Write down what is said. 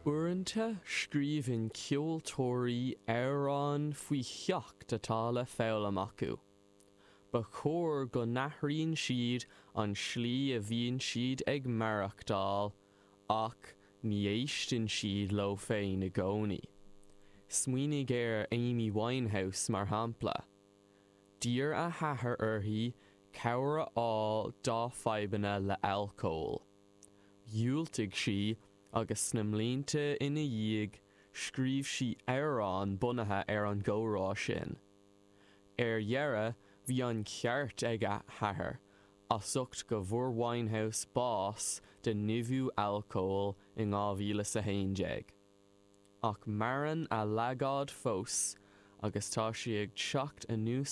Uaireanta scríobhann ceoltóirí amhráin faoi cheacht atá le foghlaim acu. Ba chóir go n-athraíonn siad an tslí a bhíonn siad ag maireachtáil ach ní éisteann siad leo féin i gcónaí. Smaoinigh ar Amy Winehouse mar shampla. D'iarr a hathair uirthi cabhair a fháil dá fadhbanna le alcól. Dhiúltaigh sí agus sna mblianta ina dhiaidh scríobh sí amhrán bunaithe ar an gcomhrá sin. Ar dheireadh bhí an ceart ag a hathair as ucht go bhfuair Winehouse bás de nimhiú alcóil in 2011. Ach maireann a leagáid fós agus tá sí ag teacht anuas.